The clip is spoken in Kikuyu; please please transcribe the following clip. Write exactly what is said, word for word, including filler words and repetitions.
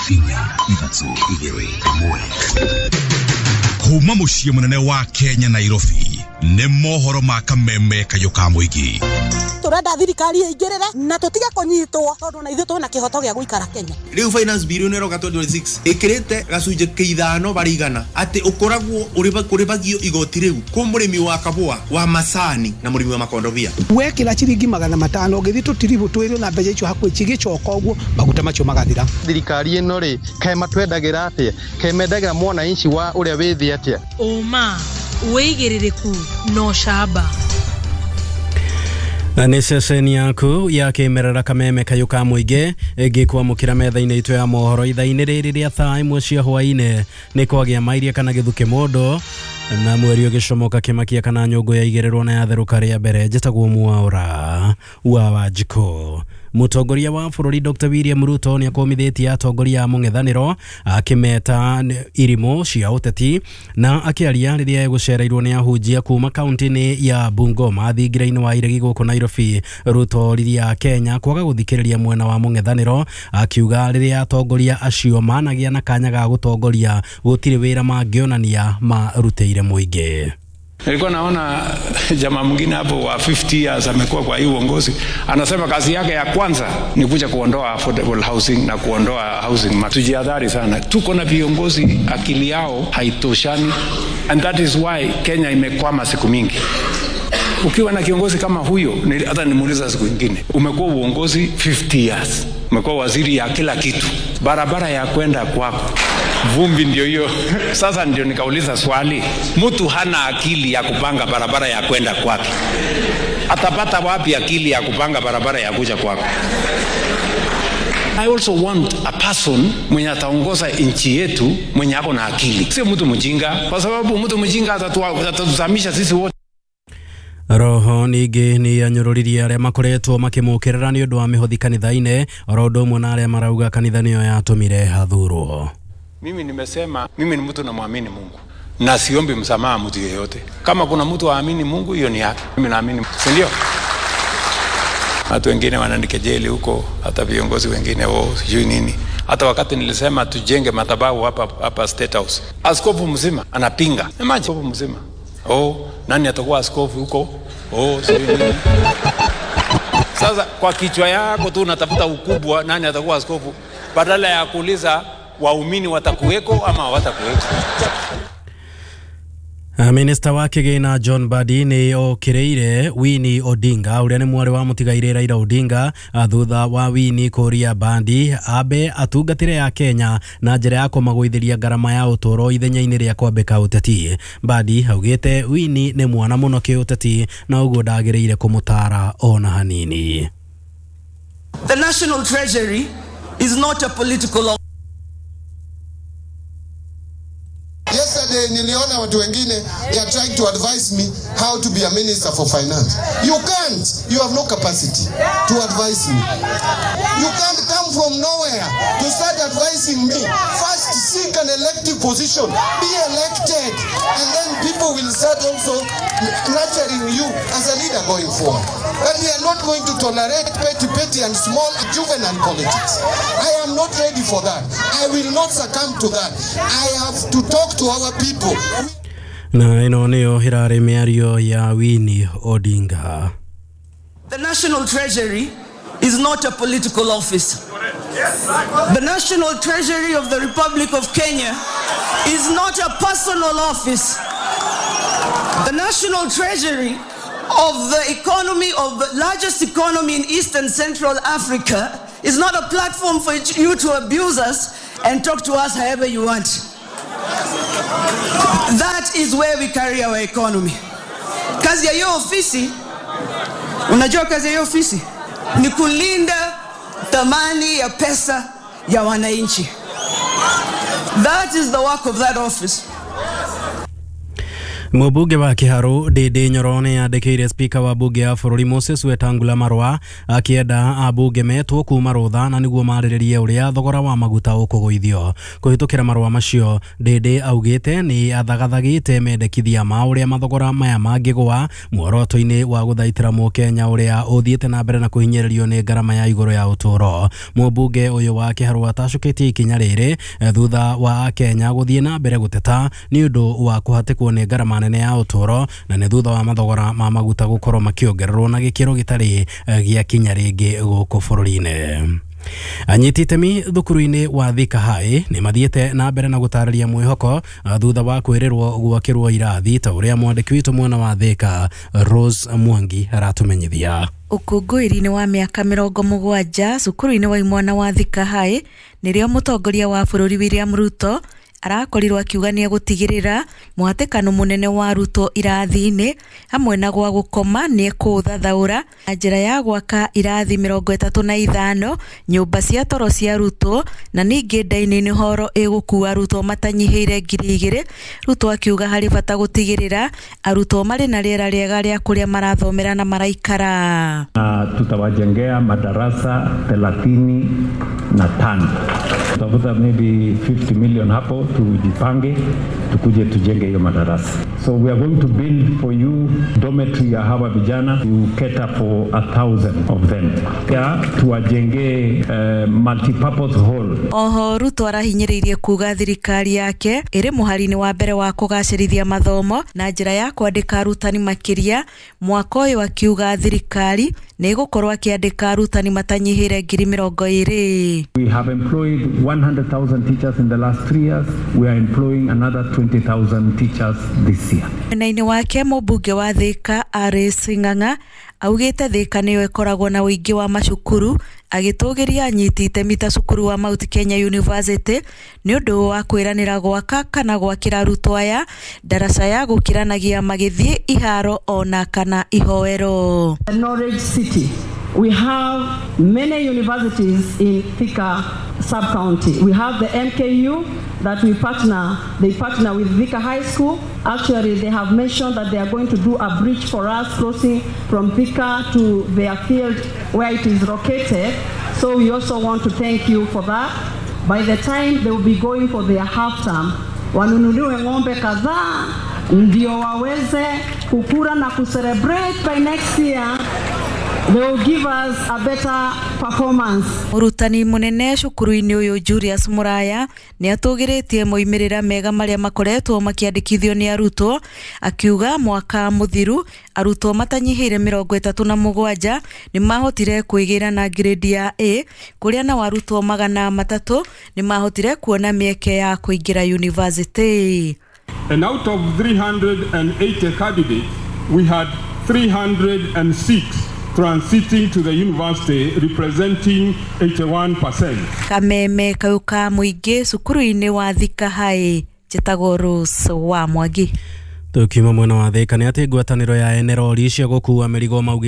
Inya, ithatũ, igĩrĩ, ĩmwe. Kuma mũciĩ mũnene wa Kenya, Nairobi, nĩ mohoro ma kameme kayũ ka mũingĩ. Turenda thirikari ĩingĩrĩre na tũtige kũnyitwo tondũ na ithuĩ twĩna kĩhoto gĩa gũikara Kenya. Rĩu finance bill ĩno ĩroka twenty twenty-six ĩkĩrĩte gacunjĩ ka ithano barĩ igana atĩ ũkoragwo ũrĩhagio igoti rĩu kwĩ mũrĩmi wa kabũa wa macani na mũrĩmi wa makondobia. Wekĩra ciringi magana matano ũgĩthiĩ tũtiribũ twĩrĩ na mbeca icio hakuhĩ cigĩcoka ũguo maguta macio magathira. Thirikari ĩno rĩ, kaĩ matwendagĩra atĩa? Kaĩ mendagĩra mwananchi wa ũrĩa wĩ thĩ atĩa? Ũma, wĩigĩrĩrĩku na ũcamba. Nĩ ceceni yaku ya kĩmerera kameme kayũ ka mũingĩ ĩngĩkwamũkĩra metha-inĩ itũ ya mohoro ithaa-inĩ rĩrĩ rĩa thaa ĩmwe cia hwaĩ-inĩ. Nĩ kwagĩa mairia kana gĩthukĩ mũndũ na mweri ũgĩcomoka kĩmakia kana nyũngũ yaigĩrĩrwo na yatherũka rĩa mbere. Njĩtagwo Mwaũra wa Wanjikũ. Mũtongoria wa bũrũri Doctor William Ruto nĩ akomithĩtie atongoria a mũng'ethanĩro akĩmeta irimũ cia ũteti. Na akĩaria rĩrĩa egũcereirwo nĩ ahunjia kuma kaunti-inĩ ya Bungoma thingira-inĩ wa iregi gũkũ Nairobi, Ruto oririe a Kenya kwaga gũthikĩrĩria mwena wa mũng'ethanĩro, akiuga rĩrĩa atongoria acio managĩa na kanya ga gũtongoria gũtirĩ wĩra mangĩonania marutĩire mũingĩ. Nilikuwa naona jamaa mwingine hapo wa fifty years amekuwa kwa hii uongozi, anasema kazi yake ya kwanza ni kuja kuondoa affordable housing na kuondoa housing market. Tujihadhari sana, tuko na viongozi akili yao haitoshani, and that is why Kenya imekwama siku mingi. Ukiwa na kiongozi kama huyo, hata nimuuliza siku nyingine, umekuwa uongozi fifty years, umekuwa waziri ya kila kitu, barabara ya kwenda kwako vumbi ndio hiyo. Sasa ndio nikauliza swali, mtu hana akili ya kupanga barabara ya kwenda kwake, atapata wapi akili ya kupanga barabara ya kuja kwako? I also want a person mwenye ataongoza nchi yetu mwenye ako na akili, sio mtu mjinga, kwa sababu mtu mjinga atatuzamisha sisi wote. Roho ningĩ nĩ anyũrũririe arĩa makoretwo makĩmũkĩrĩra nĩ ũndũ wa mĩhothi kanitha-inĩ oro ũndũ ũmwe na arĩa marauga kanitha nĩyo yatũmire hathurwo. Mimi nimesema mimi ni mtu namwamini Mungu na siombi msamaha mtu yeyote. Kama kuna mtu aamini Mungu, hiyo ni yake. Mimi naamini, si ndio? Watu wengine wananikejeli huko, hata viongozi wengine wao sijui nini. Hata wakati nilisema tujenge madhabahu hapa hapa State House, askofu mzima anapinga. Imagine, askofu mzima. Oh, nani atakuwa askofu huko? Oh, sijui nini. Sasa kwa kichwa yako tu unatafuta ukubwa, nani atakuwa askofu, badala ya kuuliza waumini watakuweko ama hawatakuweko. Minista wa kĩgĩna John Mbadi nĩ okĩrĩire Winnie Odinga ũrĩa nĩ mwarĩ wa mũtigairĩ Raila Odinga thutha wa Winnie kũria Mbadi ambe atungatĩre ya Kenya na njĩra ya kũmagũithĩria ngarama ya ũtũũro ithenya-inĩ rĩa kwambĩka ũteti. Mbadi augĩte Winnie nĩ mwana mũno kĩũteti na ũguo ndagĩrĩire kũmũtara ona hanini. The National Treasury is not a political. Yesterday niliona watu wengine, they are trying to advise me how to be a minister for finance. You can't. You have no capacity to advise me. You can't come from nowhere to start advising me. First seek an elective position. Be elected. And then people will start also nurturing you as a leader going forward. And we are not going to tolerate petty, petty and small juvenile politics. I am not ready for that. I will not succumb to that. I have to talk to our people. Na ĩno nĩyo ĩrarĩ mĩario ya Winnie Odinga. The National Treasury is not a political office. The National Treasury of the Republic of Kenya is not a personal office. The National Treasury of the economy of the largest economy in East and Central Africa is not a platform for you to abuse us and talk to us however you want. That is where we carry our economy. Kazi ya hiyo ofisi, unajua kazi ya hiyo ofisi ni kulinda thamani ya pesa ya wananchi. That is the work of that office. Mũmbunge wa Kiharu Ndindi Nyoro nĩ andĩkĩire spika wa bunge ya bũrũri Moses Wetangula marũa akĩenda ambunge metwo kuma rũtha na nĩguo marĩrĩrie ũrĩa thogora wa maguta ũkũgũithio. Kũhĩtũkĩra marũa macio, Ndindi augĩte nĩ athagathagĩte mendekithia ma ũrĩa mathogora maya mangĩgũa muoroto-inĩ wa gũthaitĩra mũkenya ũrĩa ũthiĩte na mbere na kũhinyĩrĩrio nĩ ngarama ya igũrũ ya ũtũũro. Mũmbunge ũyũ wa Kiharu atacũkĩtie ikinya rĩrĩ thutha wa Akenya gũthiĩ na mbere gũteta nĩ ũndũ wa kũhatĩkwo nĩ ngarama nene ya ũtũũro na nĩ thutha wa mathogora ma maguta gũkorwo makĩongererwo na gĩkĩro gĩtarĩ gĩa kinya rĩngĩ gũkũ bũrũri-inĩ. Anyiti itemi thukuru-inĩ wa Thika High nĩ mathiĩte na mbere na gũtarĩria mwĩhoko thutha wa kwĩrĩrwo gwakĩrwo irathi ta ũrĩa mwandĩki witũ mwena wa Thika Rose Mwangi aratũmenyithia. Ũkũngũĩri-inĩ wa mĩaka mĩrongo mũgwanja cukuru-inĩ wa imwana wa Thika High nĩrĩo mũtongoria wa bũrũri William Ruto arakorirwo akiuga nĩ egũtigĩrĩra mũhatĩkano mũnene wa arutwo irathi-inĩ hamwe na gwa gũkoma nĩ ekũũthathaũra na njĩra ya gwaka irathi mĩrongo ĩtatũ na ithano, nyũmba cia toro cia arutwo na ningĩ dining hall ĩgũkua arutwo matanyihĩire ngiri igĩrĩ. Ruto akiuga harĩ bata gũtigĩrĩra arutwo marĩ na rĩera rĩega rĩa kũrĩa marathomera na maraikara. Na tutawajengea madarasa thelathini na tano. Tutavuta maybe fifty million hapo, tujipange tukuje tujenge hiyo madarasa. So we are going to build for you dormitory ya hawa vijana to cater for a thousand of them. Ya tuwajenge uh, multi-purpose hall. Oho Ruto arahinyĩrĩirie kuga thirikari yake ĩrĩ mũhari-inĩ wa mbere wa kũgacĩrithia mathomo na njĩra ya kwandĩka arutani makĩria mwaka ũyũ, akiuga thirikari nĩ ĩgũkorwo akĩandĩka arutani matanyihĩire ngiri mĩrongo ĩrĩ. We have employed one hundred thousand teachers in the last three years. We are employing another twenty thousand teachers this year. Mwena-inĩ wake mũmbunge wa Thika Alice Ng'ang'a augĩte Thika nĩyo ĩkoragwo na ũingĩ wa macukuru, agĩtũgĩria anyiti itemi ta cukuru wa Mount Kenya University nĩ ũndũ wa kwĩranĩra gwaka kana gwakĩra arutwo aya ndaraca ya gũkĩranagia magĩthiĩ iharo ona kana ihoero. The Knowledge City. We have many universities in Thika sub-county. We have the M K U that we partner, they partner with Thika High School. Actually, they have mentioned that they are going to do a bridge for us crossing from Thika to their field where it is located. So we also want to thank you for that. By the time they will be going for their half term, wanunuliwe ng'ombe kadhaa ndio waweze kukura na kucelebrate by next year. They will give us a better performance. Mũrutani mũnene cukuru-inĩ ũyũ Julius Muraya nĩ atũgĩrĩtie moimĩrĩra mega marĩa makoretwo makĩandĩkithio nĩ arutwo, akiuga mwaka mũthiru arutwo matanyihĩire mĩrongo ĩtatũ na mũgwanja nĩ mahotire kwĩgĩra na grade ya A, kũrĩa nao arutwo magana matatũ nĩ mahotire kuona mĩeke ya kũingĩra university. And out of three hundred eighty candidates, we had three hundred six transiting to the university, representing eighty-one percent. Kameme kau ka mũingĩ cukuru-inĩ wa Thika High, njĩtagwo Rose wa Mwangi. Tukiuma mwena wa Thika nĩ atĩ ngwatanĩro ya enerori cia gũkua mĩrigo maugĩte